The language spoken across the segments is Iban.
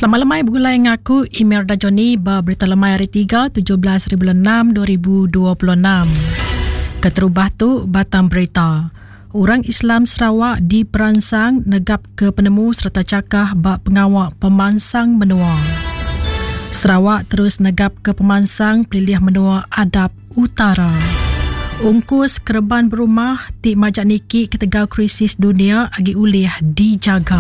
Selamat lemai begulai enggau aku Imelda Johnny ba Berita Lemai Hari 3 17 bulan 6 2026. Keterubah tu batang berita. Orang Islam Sarawak diperansang negap ke penemu sereta chakah ba pengawa pemansang menua. Sarawak terus negap ke pemansang pelilih menua Adap Utara. Ungkus kereban berumah ti majak niki ketegal krisis dunia agi ulih dijaga.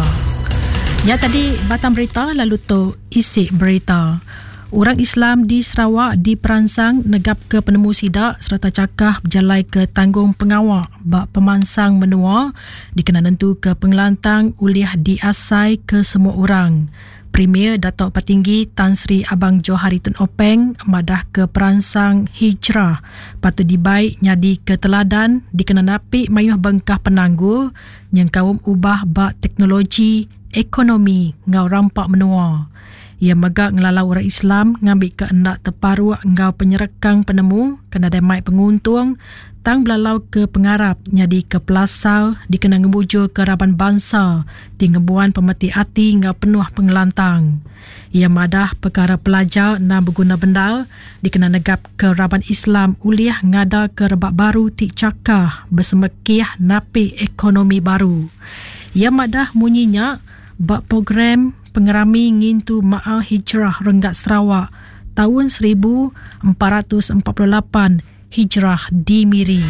Nya tadi batang berita lalu tu isi berita. Orang Islam di Sarawak diperansang negapka penemu sida sereta chakah bejalaika tanggung pengawa ba pemansang menua dikena nentuka pengelantang ulih diasai ke semua orang. Premier Datuk Patinggi Tan Sri Abang Johari Tun Openg madahka peransang hijrah patut dibai nyadika teladan dikena napi mayuh bengkah penanggul nyengkaum ubah ba teknologi, ekonomi enggau rampa menua. Iya mega ngelalau orang Islam ngambika enda teparuk enggau penyerekang penemu ke nadai mai penguntung tang belalauka pengarap nyadika pelasar dikena ngemujurka raban bansa ti ngembuan pemeti ati enggau penuh pengelantang. Iya madah pekara pelajar endang beguna bendar dikena negapka raban Islam ulih ngadaka rebak baru ti chakah besemekih napi ekonomi baru. Iya madah munyi nya ba program Pengerami Ngintu Maal Hijrah Renggat Sarawak taun 1448 Hijrah di Miri.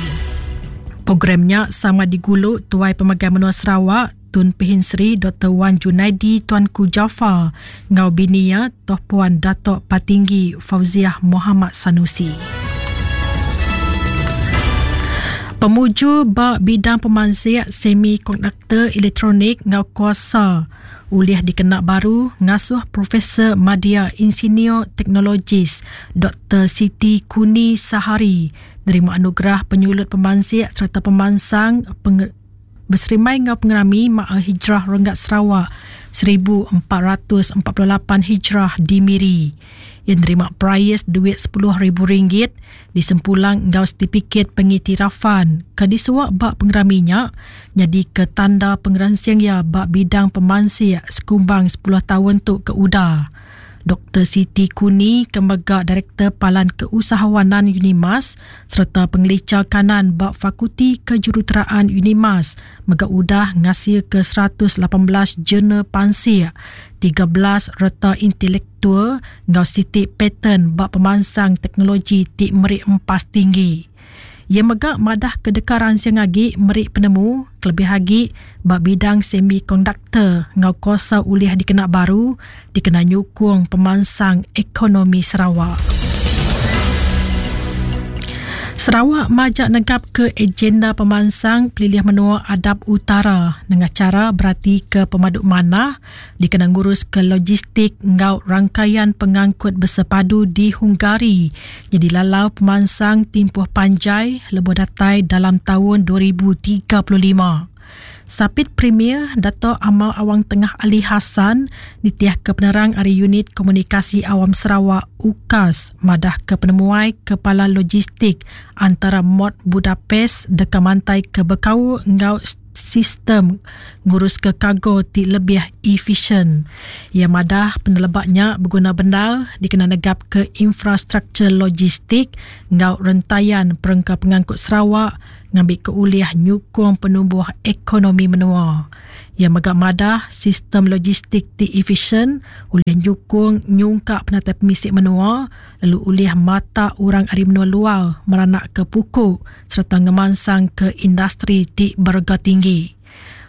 Program nya sama digulu Tuai Pemegai Menua Sarawak, Tun Pehin Sri Doktor Wan Junaidi Tuanku Jaafar enggau bini iya Toh Puan Datuk Patinggi Fauziah Mohamad Sanusi. Pemujur ba bidang pemansik semikonduktor elektronik enggau kuasa ulih dikena baru ngasuh Profesor Madya Insinyur Teknologis Doktor Siti Kuni Sahari nerima anugerah penyulut pemansik sereta pemansang beserimbai enggau pengerami Ma'a Hijrah Renggat Sarawak 1448 Hijrah di Miri. Iya nerima perais duit sepuluh ribu ringgit disempulang enggau setipikit pengiktirafan ke disuak ba pengerami nya nyadika tanda pengeransing iya ba bidang pemansik sekumbang sepuluh taun tu ke udah. Doktor Siti Kuni ke mega Direktor Palan Keusahawanan Unimas sereta Pengelicha Kanan ba Fakulti Kejuruteraan Unimas mega udah ngasilka 118 jurnal pansik, 13 reta intelektual enggau siti paten ba pemansang teknologi ti meri empas tinggi. Iya mega madah ke deka ransing agi meri penemu kelebih agi ba bidang semikonduktor enggau kuasa ulih dikena baru dikena nyukung pemansang ekonomi Sarawak. Sarawak majak negapka agenda pemansang pelilih menua Adap Utara nengah chara beratika pemadu manah dikena nguruska logistik enggau rangkaian pengangkut bersepadu di Hungary nyadi lalau pemansang timpuh panjai lebuh datai dalam taun 2035. Sapit Premier Dato Amar Awang Tengah Ali Hassan nitihka penerang ari Unit Komunikasi Awam Sarawak, UKAS, madahka penemuai Kepala Logistik antara Mod Budapest deka mantaika bekaul enggau sistem nguruska kargo ti lebih efisien. Iya madah peneleba nya beguna bendar dikena negapka infrastruktur logistik enggau rentayan perengka pengangkut Sarawak ngambika ulih nyukung penumbuh ekonomi menua. Iya mega madah sistem logistik ti efisien ulih nyukung nyungkak penatai pemisi menua lalu ulih matak orang ari menua luar meranakka puku sereta ngemansangka industri ti berega tinggi.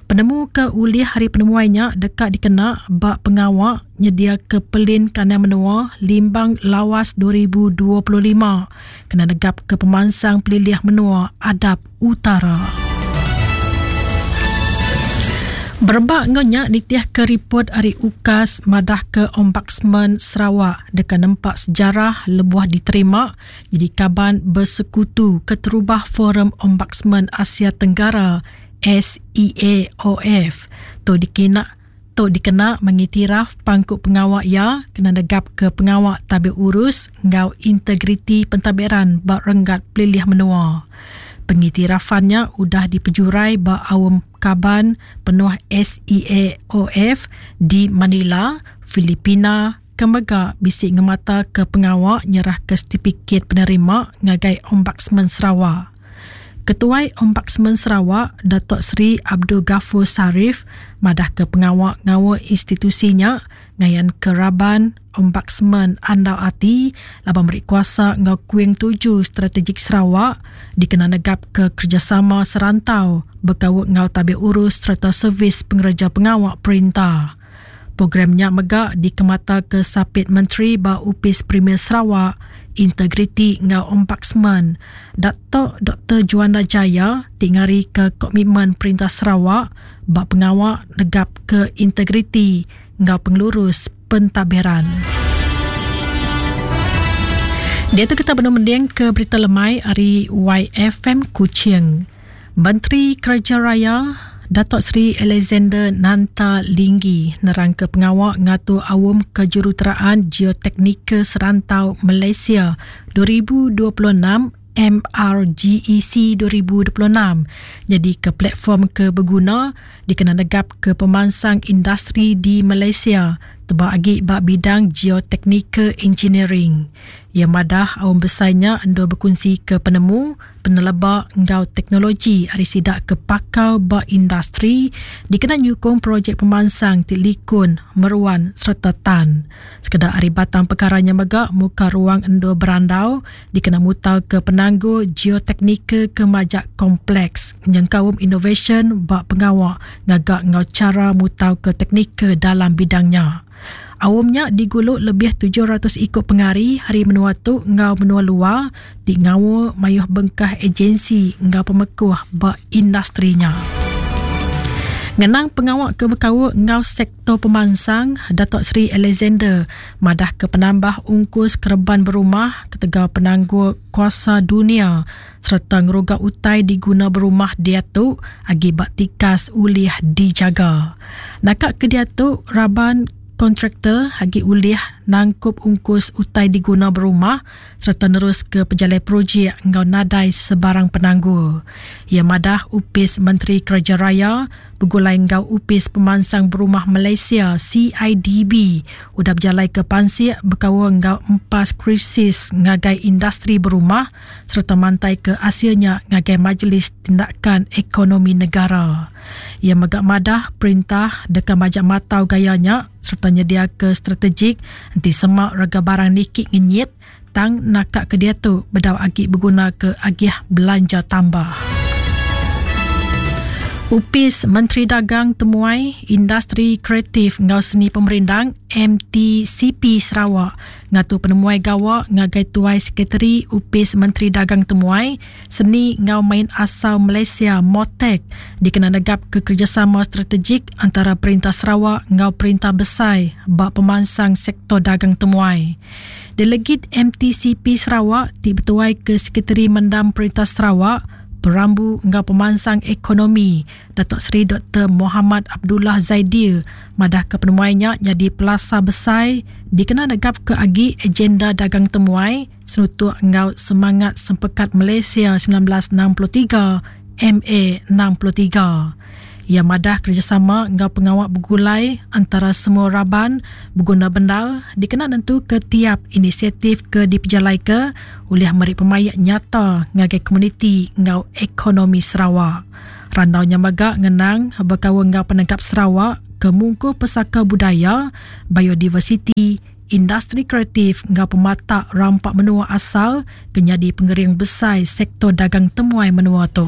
Penemu ke ulih ari penemuai nya deka dikena ba pengawa nyediaka Pelin Kandang Menua Limbang Lawas 2025 kena negapka pemansang pelilih menua Adap Utara. Berebak enggau nya nitihka ripot ari UKAS madahka Ombudsman Sarawak deka nempa sejarah lebuh diterima nyadi kaban besekutu keterubah Forum Ombudsman Asia Tenggara, SEAOF. Tu dikena tu dikena mengiktiraf pangku pengawa iya kena negapka pengawa tabir urus enggau integriti pentadbiran ba renggat pelilih menua. Pengiktirafan nya udah dipejurai ba aum kaban penuh SEAOF di Manila, Filipina ke mega bisi ngemataka pengawa nyerahka setipikit penerima ngagai Ombudsman Sarawak. Ketuai Ombudsman Sarawak, Datuk Seri Abdul Ghafur Sharif madahka pengawa ngaul institusi nya ngayanka raban Ombudsman andal ati laban meri kuasa enggau kuing tuju strategik Sarawak dikena negapka kerejasama serantau bekaul enggau tabir urus sereta servis pengereja pengawa perintah. Program nya mega dikemataka Sapit Menteri ba Opis Premier Sarawak, Integriti enggau Ombudsman, Datuk Doktor Juanda Jaya ti ngarika komitmen Perintah Sarawak ba pengawa negapka integriti enggau pengelurus pentadbiran. Diatu kita benung mendingka berita lemai ari YFM Kuching. Menteri Kereja Raya, Datuk Seri Alexander Nanta Linggi nerangka pengawa ngatur Aum Kejuruteraan Geoteknikal Serantau Malaysia 2026 MRGEC 2026 nyadika platform ke beguna dikena negapka pemansang industri di Malaysia tebal agi ba bidang geoteknikal engineering. Iya madah aum besai nya endur bekunsika penemu, peneleba enggau teknologi ari sida ke pakar ba industri dikena nyukung projek pemansang ti likun, meruan sereta tan. Sekeda ari batang pekara nya mega muka ruang endur berandau dikena mutarka penanggul geoteknikal ke majak kompleks nyengkaum inovasyen ba pengawa ngaga enggau chara mutarka teknikal dalam bidang nya. Aum nya digulu lebih 700 iku pengari ari menua tu enggau menua luar ti ngaul mayuh bengkah ejensi enggau pemekuh ba industri nya. Ngenang pengawa ke bekaul enggau sektor pemansang, Datuk Seri Alexander madahka penambah ungkus kereban berumah ketegal penanggul kuasa dunia sereta ngeruga utai diguna berumah diatu agi ba tikas ulih dijaga. Naka ke diatu, raban kontraktor agi ulih nangkup ungkus utai diguna berumah sereta neruska pejalai projek enggau nadai sebarang penanggul. Iya madah Opis Menteri Kereja Raya begulai enggau Opis Pemansang Berumah Malaysia, CIDB, udah bejalaika pansik bekaul enggau empas krisis ngagai industri berumah sereta mantaika asil nya ngagai Majlis Tindakan Ekonomi Negara. Iya mega madah perintah deka majak matau gaya nya sereta nyediaka strategik enti sema rega barang niki ngenyit tang naka ke diatu bedau agi begunaka agih belanja tambah. Opis Menteri Dagang Temuai, Industri Kreatif enggau Seni Pemerindang, MTCP, Sarawak ngatur penemuai gawa ngagai Tuai Sekretari Opis Menteri Dagang Temuai, Seni enggau Main Asal Malaysia, MOTAC, dikena negapka kerejasama strategik antara Perintah Sarawak enggau Perintah Besai ba pemansang sektor dagang temuai. Delegit MTCP Sarawak ti betuai ke Sekretari Mendam Perintah Sarawak, Perambu enggau Pemansang Ekonomi, Datuk Seri Doktor Mohamad Abdullah Zaidil madahka penemuai nya nyadi pelasar besai dikena negapka agi agenda dagang temuai senutuk enggau semangat Sempekat Malaysia 1963, MA 63. Iya madah kerejasama enggau pengawa begulai antara semua raban beguna bendar dikena nentuka tiap inisiatif ke dipejalaika ulih meri pemaik nyata ngagai komuniti enggau ekonomi Sarawak. Randau nya mega ngenang bekaul enggau penegap Sarawak ke mungkur pesaka budaya, biodiversiti, industri kreatif enggau pematak rampa menua asal ke nyadi pengering besai sektor dagang temuai menua tu.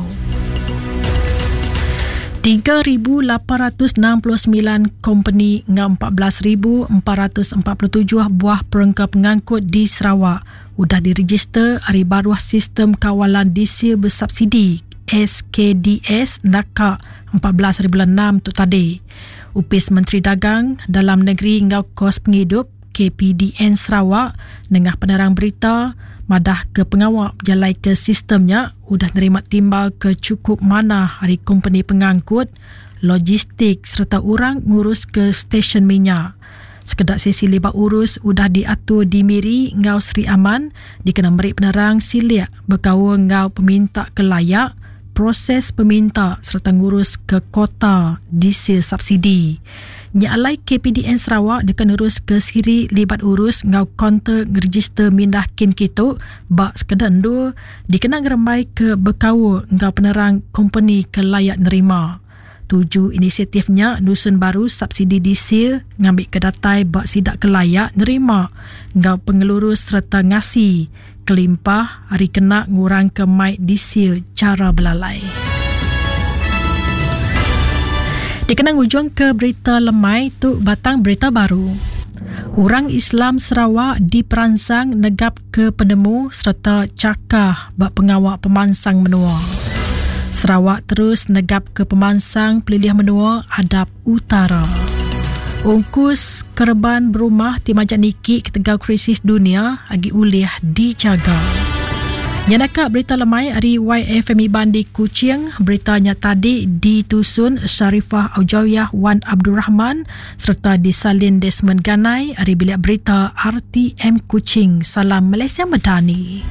3,869 kompeni enggau 14,447 buah perengka pengangkut di Sarawak udah direjister ari baruh Sistem Kawalan Diesel Bersubsidi SKDS naka 14 hari bulan 6 tu tadi. Opis Menteri Dagang Dalam Negeri enggau Kos Pengidup, KPDN Sarawak, nengah penerang berita madahka pengawa bejalaika sistem nya udah nerima timbal ke chukup manah ari kompeni pengangkut, logistik sereta orang nguruska stesyen minyak. Sekeda sesi libat urus udah diatur di Miri enggau Sri Aman dikena meri penerang silik bekaul enggau peminta ke layak, proses peminta sereta ngurus ke kota diesel subsidi. Nya alai KPDN Sarawak deka neruska siri libat urus enggau kaunter ngerejister mindah kin kitu ba sekeda endur dikena ngerembaika bekaul enggau penerang kompeni ke layak nerima. Tuju inisiatif nya nusun baru subsidi diesel ngambika datai ba sida ke layak nerima enggau pengelurus sereta ngasi kelimpah ari kena ngurangka mai diesel chara belalai. Dikena ngujungka berita lemai tu batang berita baru. Orang Islam Sarawak diperansang negapka penemu sereta chakah ba pengawa pemansang menua. Sarawak terus negapka pemansang pelilih menua adap utara. Ungkus kereban berumah ti majak niki ketegal krisis dunia agi ulih dijaga. Nya naka berita lemai ari YFM Iban di Kuching. Berita nya tadi ditusun Sharifah Aujawiyah Wan Abdul Rahman sereta disalin Desmond Ganai ari Bilik Berita RTM Kuching. Salam Malaysia Madani.